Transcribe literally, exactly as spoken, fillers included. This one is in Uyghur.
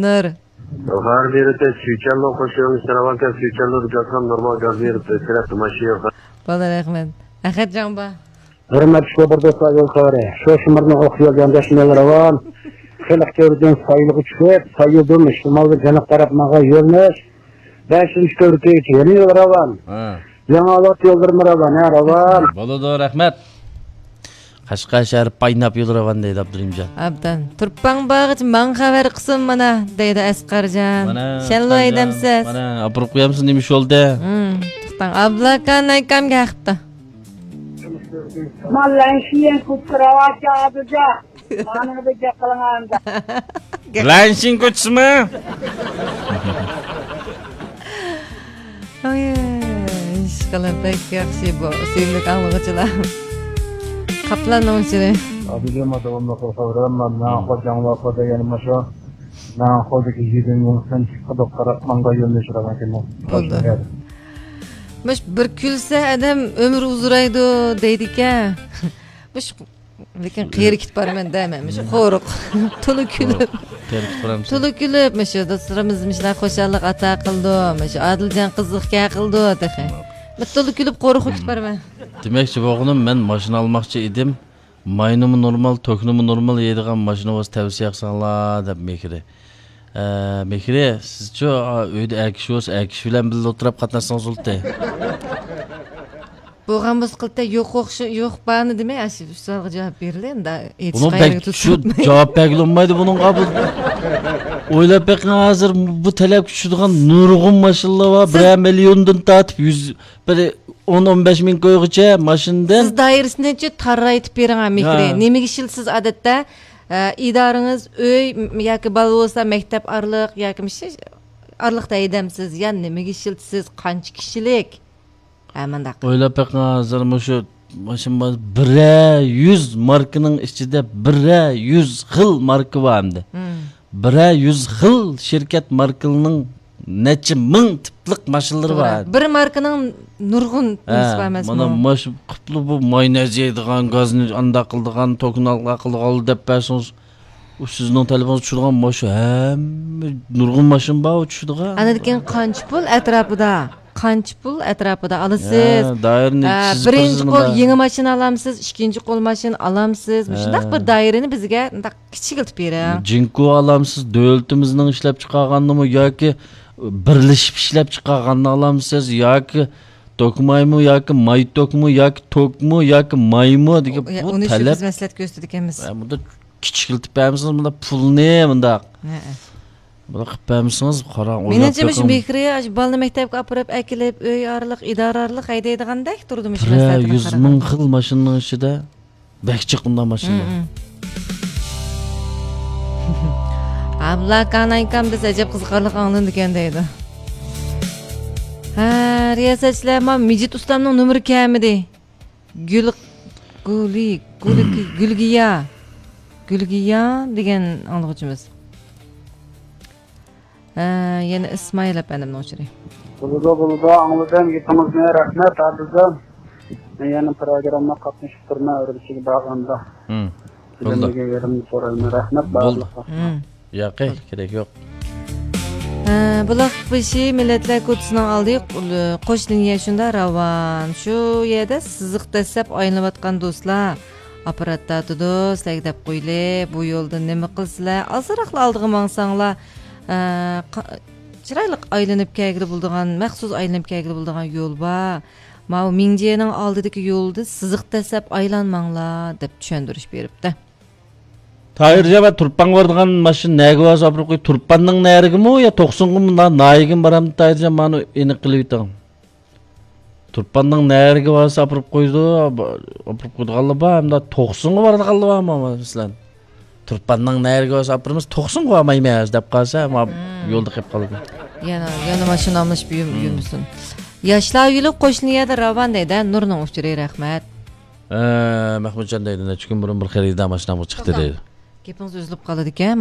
نۇر. غەربىي رېتە سۈيچەنلۇ قوشۇن سىراۋاكا سۈيچەنلۇ دېگەن نورمال غەربىي رېتە كېرەتتى ماشىنا. بولدى، رەھمەت. ئەخەتجان با. ھۆرمەتلىك شوپۇر دوستلار، يول خەۋىرى. شۇ شىمىرنىڭ ئوقۇپ يۈرگەن دەشمىلى راۋان. خەلق كۆۋرۈكتىن سايلىغا چۈشۈپ، سايلىدىن شىمالغا جەنۇب تەرەپ ماڭغان يۆنىلىش. بەشىنچى كۆۋرۈككىچە يەنە يول راۋان. ھە. يېڭىئاۋات يوللىرىمۇ راۋان، ھە، راۋان. بولىدۇ، رەھمەت. قەشقەر شەھىرى پايناپ يول راۋان دەيدۇ ئابدۇرېھىمجان. ئابدان. تۇرپان بارغىچە ماڭا خەۋەر قىلسۇن مانا، دەيدۇ ئەسقەرجان. مانا، شەنلۇ ئەسقەرجان، ھەيدەمسىز. مانا، ئابروق قويامسىز نېمە يول دە؟ ھىم، توختاڭ. ئابلاكان ئاكام كەپتۇ. مانا لەنشىيەن كۇتسىراۋاچ ئابىجان. مانا بىر گەپ قىلىڭ ئەمدى. لەنشىن كوچىسىمۇ؟ ئاي، ئىشقىلىپ بەك ياخشى بۇ سۆيۈملۈك ئاڭلىغۇچىلار. قاپلاننىڭ ئۇچۇرى. ئابىجان، داۋاملىق خەۋەر مەن خوجاڭلارغا دېگەن مۇشۇ. مەن خودىكى يېدىن يوڭسەن چىقىدۇ قاراپ ماڭغا يۆنىلىش راۋان كېلىدۇ. بولدى. مۇش بىر كۈلسە ئادەم ئۆمۈر ئۇزىرايدۇ دەيدىكەن. مۇش لېكىن قېرى كېتىپ بارىمەن دەيمەن، مۇشۇ قورۇق. تولا كۈلۈپ. قېرى كېتىپ بارامسەن؟ تولا كۈلۈپ، مۇشۇ دوستلىرىمىز مۇشۇنداق خۇشاللىق ئاتا قىلىدۇ، مۇشۇ ئادىلجان قىزىق گەپ قىلىدۇ تېخى. بىر تولا كۈلۈپ قورۇق كېتىپ بارىمەن. دېمەكچى بولغىنىم، مەن ماشىنا ئالماقچى ئىدىم. ماينىمۇ نورمال، توكنىمۇ نورمال يەيدىغان ماشىنا بولسا تەۋسىيە قىلساڭلار دەپ مېھرى. ئە، مېھرى، سىزچۇ، ئا، ئۆيدە ئەر كىشى بولسا، ئەر كىشى بىلەن بىللە ئولتۇرۇپ قاتناشسىڭىز بولاتتى. بولغان بولسا قىلتە يوق ئوخشا-، يوق بارنى دېمەي، ئاشۇ سوئالغا جاۋاب بېرىلى، ئەمدى بۇنىڭ ئېيتىشقا بەك ئايرىلىپ شۇ تۇتۇلماي. جاۋاب بەرگىلى بولمايدۇ بۇنىڭغا. بۇ، ئويلاپ بېقىڭ، ھازىر بۇ تەلەپكە چۈشىدىغان نۇرغۇن ماشىنىلار بار. سىز بىرەر مىليوندىن تارتىپ يۈز، بىر ئون، ئون بەش مىڭ كويغىچە ماشىنىدىن. سىز دائىرىسىنى چى تاررايتىپ بېرىڭ، ھە، مېھرى. ھە. نېمىگە ئىشلىتىسىز ئادەتتە؟ ئە، ئىدارىڭىز ئۆي م-، ياكى بالا بولسا مەكتەپ ئارىلىق ياكى مۇشۇ ئارىلىقتا ھەيدەمسىز؟ يا نېمىگە ئىشلىتىسىز؟ قانچە كىشىلىك؟ ھە، مۇنداق. ئويلاپ بېقىڭ، ھازىر مۇشۇ ماشىنا بار، بىرەر يۈز ماركىنىڭ ئىچىدە بىرەر يۈز خىل ماركا بار ئەمدى. مم. بىرەر يۈز خىل شىركەت ماركىلىنىڭ نەچچە مىڭ تىپلىق ماشىنىلىرى بار. توغرا. بىر ماركىنىڭ نۇرغۇن ھە، نېمىسى بار ئەمەسمۇ؟ مانا ماش-، قۇپلا بۇ ماينېز يەيدىغان، گازنى ئانداق قىلىدىغان، توكنى ئانداق قىلىدىغان دەپ بەرسىڭىز، ئۇ سىزنىڭ تەلىپىڭىزگە چۈشىدىغان ماشىنا ھەممە نۇرغۇن ماشىنا بار، ئۇ چۈشىدىغان. ئاندىن كېيىن قانچە پۇل ئەتراپىدا؟ قانچە پۇل ئەتراپىدا ئالىسىز؟ ھە، دائىرىنى ئە، چىزىپ بىرىنچى بېرىسىز قول مۇنداق. يېڭى ماشىنا ئالامسىز، ئىككىنچى قول ماشىنا ئالامسىز؟ مۇشۇنداق ھە. بىر دائىرىنى بىزگە مۇنداق كىچىكلىتىپ بېرىڭ. جىنكو ئالامسىز، دۆلىتىمىزنىڭ ئىشلەپچىقارغانىمۇ ياكى بىرلىشىپ ئىشلەپچىقارغاننى ئالامسىز ياكى توكمايمۇ ياكى مايتوكمۇ ياكى توكمۇ ياكى مايمۇ دېگەن ئۇ، بۇ ئۇنى شۇ تەلەپ. بىز مەسلىھەت كۆرسىتىدىكەنمىز. ھە، بۇندا كىچىكلىتىپ بەرمىسىڭىز، مۇنداق پۇلنى مۇنداق. ھەئە. بۇنداق قىلىپ بەرمىسىڭىز، قاراڭ، ئويلاپ مېنىڭچە مۇشۇ بېقىڭ. مېھرى ئاشۇ بالىنى مەكتەپكە ئاپىرىپ ئەكېلىپ، ئۆي ئارىلىق، ئىدارە ئارىلىق ھەيدەيدىغاندەك تۇرىدۇ مۇشۇ بىرەر مەسلىھەتكە يۈز قارىغاندا. مىڭ خىل ماشىنىنىڭ ئىچىدە بەك جىق ئۇنداق ماشىنا. مم، مم. ئابلاكان ئاكام بىز ئەجەب قىزىقارلىق ئاڭلىنىدىكەن دەيدۇ. ھە، رىياسەتچىلەر، ما مىجىت ئۇستامنىڭ نومۇرى كەلمىدى. گۈل، گۈلى، گۈلگى، گۈلگىيا. گۈلگىيا دېگەن ئاڭلىغۇچىمىز. ھە، يەنە ئىسمائىل ئەپەندىمنىڭ ئۇچۇرى. بولىدۇ، بولىدۇ، ئاڭلىدىم گېپىڭىزنى، رەھمەت، ئادىلجان. مەن يەنە پىروگرامما قاتنىشىپ تۇرىمەن، ئۈرۈمچىگە بارغاندا. ھىم. بولدى. بىلىملىگەن يېرىمنى سورايمەن، رەھمەت بارلىققا. ھىم. ياقى، كېرەك يوق. ھە، بۇلاق بېشى مىللەتلەر كوچىسىنىڭ ئالدى، قوش لىنىيە شۇنداق راۋان. شۇ يەردە سىزىق دەسسەپ ئايلىنىۋاتقان دوستلار ئاپپارات تارتىدۇ، سىلەرگە دەپ قويىلى، بۇ يولدا نېمە قىلسىلەر، ئازراقلا ئالدىغا ماڭساڭلار، ئە، قا-، چىرايلىق ئايلىنىپ كەلگىلى بولىدىغان، مەخسۇس ئايلىنىپ كەلگىلى بولىدىغان يول بار. ماۋۇ مىڭجيېنىڭ ئالدىدىكى يولدا سىزىق دەسسەپ ئايلانماڭلار، دەپ چۈشەندۈرۈش بېرىپتۇ. تاھىرجان، تۇرپانغا بارىدىغان ماشىنا نەگە بارسا ئاپىرىپ قوي، تۇرپاننىڭ نەرىگىمۇ يا توقسۇنغىمۇ، نا-، ناھىيەگىمۇ بارامدۇ تاھىرجان، مانا ئېنىق قىلىۋېتىڭ. تۇرپاننىڭ نەرىگە بارسا ئاپىرىپ قويىدۇ، ئاپىرىپ قويىدىغانلار بار، ھەمدە توقسۇنغا بارىدىغانلار بارمۇ، مەسىلەن؟ تۇرپاننىڭ نەرىگە بارسا ئاپىرىمىز، توقسۇنغا بارمايمىز دەپ قالسا، ما يولدا قېلىپ قالىدۇ. يەنە، يەنە ماشىنا ئالمىشىپ يۈ-، يۈرمىسۇن. ياشلار يولى قوشنا يەردە راۋان دەيدۇ، نۇرنىڭ ئۇچۇرى، رەھمەت. ئە، مەھمۇتجان دەيدۇ، نەچچە كۈن بۇرۇن بىر خېرىدار ماشىنامغا چىقتى دەيدۇ. گېپىڭىز ئۈزۈلۈپ قالىدىكەن.